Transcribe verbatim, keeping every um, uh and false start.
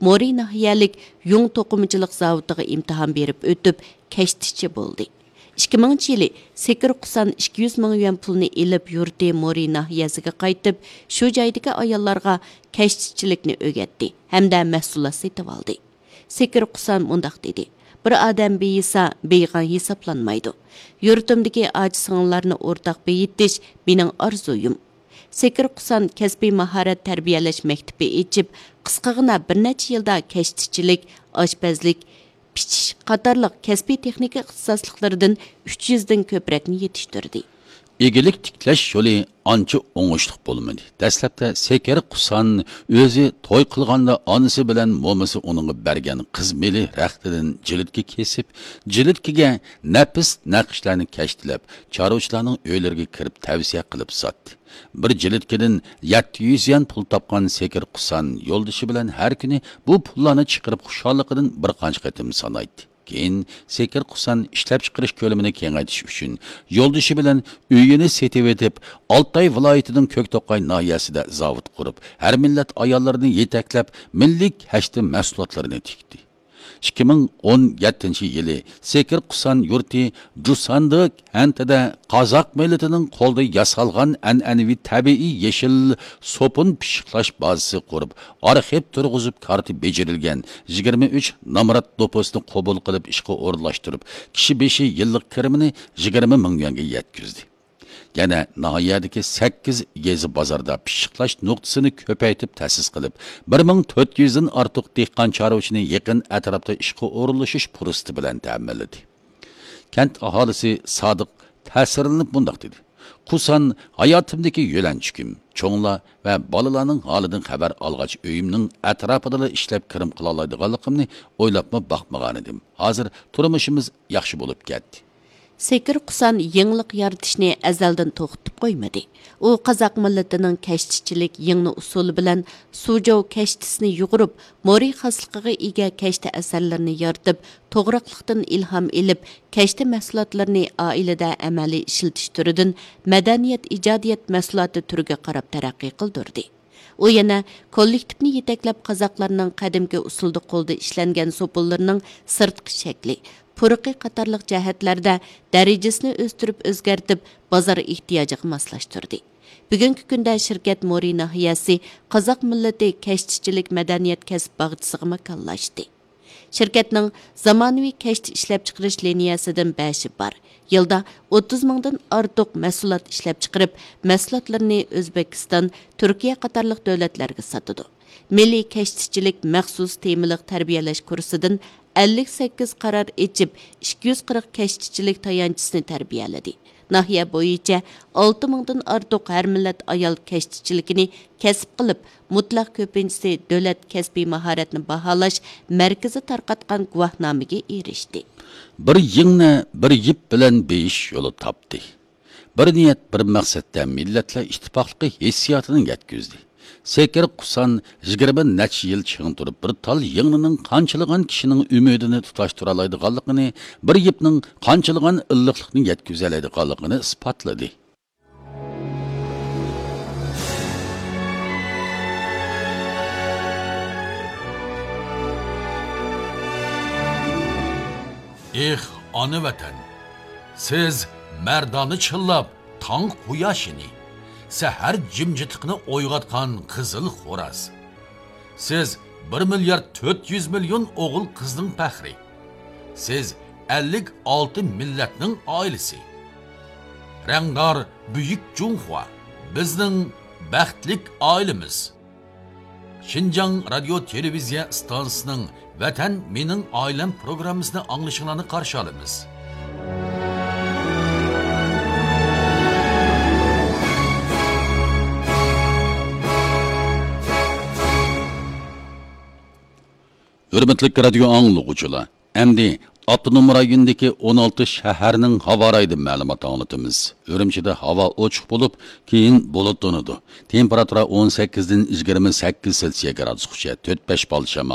مورى ناھىيەلىك يۇڭ توقۇمىچىلىق زاۋۇتىغا ئىمتىھان بېرىپ ئۆتۈپ، كەشتىچى بولدى. ئىككى مىڭىنچى يىلى سېكىر قۇسان ئىككى يۈز مىڭ يۈەن پۇلنى ئېلىپ، يۇرتى مورى ناھىيەسىگە قايتىپ، شۇ جايدىكى ئاياللارغا كەشتىچىلىكنى ئۆگەتتى ھەمدە مەھسۇلات سېتىۋالدى. سېكىر قۇسان مۇنداق دېدى: «بىر ئادەم بېيىسا، بېيىغان ھېسابلانمايدۇ. يۇرتۇمدىكى ئاچا-سىڭىللارنى ئورتاق بېيىتىش مېنىڭ ئارزۇيۇم.» سېكىر قۇسان كەسپىي ماھارەت تەربىيەلەش مەكتىپى ئېچىپ، قىسقىغىنا بىر نەچچە يىلدا كەشتىچىلىك، ئاشپەزلىك، پىچىش قاتارلىق كەسپىي تېخنىكا ئىختىساسلىقلىرىدىن ئۈچ يۈزدىن كۆپرەكنى يېتىشتۈردى. ئىگىلىك تىكلەش يولى ئانچە ئوڭۇشلۇق بولمىدى. دەسلەپتە سېكىر قۇسان ئۆزى توي قىلغاندا ئانىسى بىلەن مومىسى ئۇنىڭغا بەرگەن قىز مېلى رەختىدىن جىلىتكە كېسىپ، جىلىتكىگە نەپىس نەقىشلەرنى كەشتىلەپ، چارۋىچىلارنىڭ ئۆيلىرىگە كىرىپ تەۋسىيە قىلىپ ساتتى. بىر جىلىتكىدىن يەتتە يۈز يۈەن پۇل تاپقان سېكىر قۇسان يولدىشى بىلەن ھەر كۈنى بۇ پۇللارنى چىقىرىپ خۇشاللىقىدىن بىر قانچە قېتىم سانايتتى. كېيىن سېكىر قۇسان ئىشلەپچىقىرىش كۆلىمىنى كېڭەيتىش ئۈچۈن يولدىشى بىلەن ئۆيىنى سېتىۋېتىپ، ئالتاي ۋىلايىتىنىڭ كۆكتوقاي ناھىيەسىدە زاۋۇت قۇرۇپ، ھەر مىللەت ئاياللىرىنى يېتەكلەپ، مىللىي كەشتە مەھسۇلاتلىرىنى تىكتى. ئىككى مىڭ ئون يەتتىنچى يىلى سېكىر قۇسان يۇرتى جۇساندى كەنتىدە قازاق مىللىتىنىڭ قولىدا ياسالغان ئەنئەنىۋى تەبىئىي يېشىل سوپۇن پىششىقلاش بازىسى قۇرۇپ، ئارخىپ تۇرغۇزۇپ، كارتا بېجىرىلگەن يىگىرمە ئۈچ نامرات دوپۇسنى قوبۇل قىلىپ ئىشقا ئورۇنلاشتۇرۇپ، كىشى بېشى يىللىق كىرىمىنى يىگىرمە مىڭ يۈەنگە يەتكۈزدى. يەنە ناھىيەدىكى سەككىز يېزا بازاردا پىششىقلاش نۇقتىسىنى كۆپەيتىپ تەسىس قىلىپ، بىر مىڭ تۆت يۈزدىن ئارتۇق دېھقان چارۋىچىنى يېقىن ئەتراپتا ئىشقا ئورۇنلىشىش پۇرسىتى بىلەن تەمىنلىدى. كەنت ئاھالىسى سادىق تەسىرلىنىپ مۇنداق دېدى: «قۇسان ھاياتىمدىكى يۆلەنچۈكۈم. چوڭلار ۋە بالىلارنىڭ ھالىدىن خەۋەر ئالغاچ، ئۆيۈمنىڭ ئەتراپىدىلا ئىشلەپ كىرىم قىلالايدىغانلىقىمنى ئويلاپمۇ باقمىغانىدىم. ھازىر تۇرمۇشىمىز ياخشى بولۇپ كەتتى.» سېكىر قۇسان يېڭىلىق يارىتىشنى ئەزەلدىن توختىتىپ قويمىدى. ئۇ قازاق مىللىتىنىڭ كەشتىچىلىك يىڭنە ئۇسۇلى بىلەن سۇجوۋ كەشتىسىنى يۇغۇرۇپ، مورى خاسلىقىغا ئىگە كەشتە ئەسەرلىرىنى يارىتىپ، توغراقلىقتىن ئىلھام ئېلىپ، كەشتە مەھسۇلاتلىرىنى ئائىلىدە ئەمەلىي ئىشلىتىش تۈرىدىن مەدەنىيەت، ئىجادىيەت مەھسۇلاتى تۈرىگە قاراپ تەرەققىي قىلدۇردى. ئۇ يەنە كوللېكتىپنى يېتەكلەپ، قازاقلارنىڭ قەدىمكى ئۇسۇلدا قولدا ئىشلەنگەن سوپۇنلىرىنىڭ سىرتقى شەكلى، پۇرىقى قاتارلىق جەھەتلەردە دەرىجىسىنى ئۆستۈرۈپ ئۆزگەرتىپ، بازار ئېھتىياجىغا ماسلاشتۇردى. بۈگۈنكى كۈندە شىركەت مورى ناھىيەسى قازاق مىللىتى كەشتىچىلىك مەدەنىيەت كەسىپ باغچىسىغا ماكانلاشتى. شىركەتنىڭ زامانىۋى كەشتە ئىشلەپچىقىرىش لىنىيەسىدىن بەشى بار. يىلدا ئوتتۇز مىڭدىن ئارتۇق مەھسۇلات ئىشلەپچىقىرىپ، مەھسۇلاتلىرىنى ئۆزبېكىستان، تۈركىيە قاتارلىق دۆلەتلەرگە ساتىدۇ. مىللىي كەشتىچىلىك مەخسۇس تېمىلىق تەربىيەلەش كۇرسىدىن ئەللىك سەككىز قارار ئېچىپ، ئىككى يۈز قىرىق كەشتىچىلىك تايانچىسىنى تەربىيەلىدى. ناھىيە بويىچە ئالتە مىڭدىن ئارتۇق ھەر مىللەت ئايال كەشتىچىلىكىنى كەسىپ قىلىپ، مۇتلەق كۆپىنچىسى دۆلەت كەسپىي ماھارەتنى باھالاش مەركىزى تارقاتقان گۇۋاھنامىگە ئېرىشتى. بىر يىڭنە، بىر يىپ بىلەن بېيىش يولى تاپتى. بىر نىيەت، بىر مەقسەتتە مىللەتلەر ئىتتىپاقلىقى ھېسسىياتىنى يەتكۈزدى. سېكىر قۇسان يىگىرمە نەچچە يىل چىڭ تۇرۇپ، بىر تال يىڭنىنىڭ قانچىلىغان كىشىنىڭ ئۈمىدىنى تۇتاشتۇرالايدىغانلىقىنى، بىر يىپنىڭ قانچىلىغان ئىللىقلىقنى يەتكۈزەلەيدىغانلىقىنى ئىسپاتلىدى. ئېھ، ئانا ۋەتەن! سىز مەردانە چىللاپ تاڭ قۇياشىنى، سەھەر جىمجىتلىقىنى ئويغاتقان قىزىل خوراز. سىز بىر مىليارد تۆت يۈز مىليون ئوغۇل قىزنىڭ پەخرى. سىز ئەللىك ئالتە مىللەتنىڭ ئائىلىسى. رەڭدار بۈيۈك جۇڭخۇا، بىزنىڭ بەختلىك ئائىلىمىز. شىنجاڭ رادىيو تېلېۋىزىيە ئىستانسىسىنىڭ ۋەتەن مېنىڭ ئائىلەم پروگراممىسىنى ئاڭلىشىڭلارنى قارشى ئالىمىز. ھۆرمەتلىك رادىيو ئاڭلىغۇچىلار، ئەمدى ئاپتونوم رايوندىكى ئون ئالتە شەھەرنىڭ ھاۋا رايىدىن مەلۇمات ئاڭلىتىمىز. ئۈرۈمچىدە ھاۋا ئوچۇق بولۇپ، كېيىن بۇلۇتلىنىدۇ. تېمپېراتۇرا ئون سەككىزدىن يىگىرمە سەككىز سېلسىيە گرادۇسقىچە، تۆت بەش بال شامال.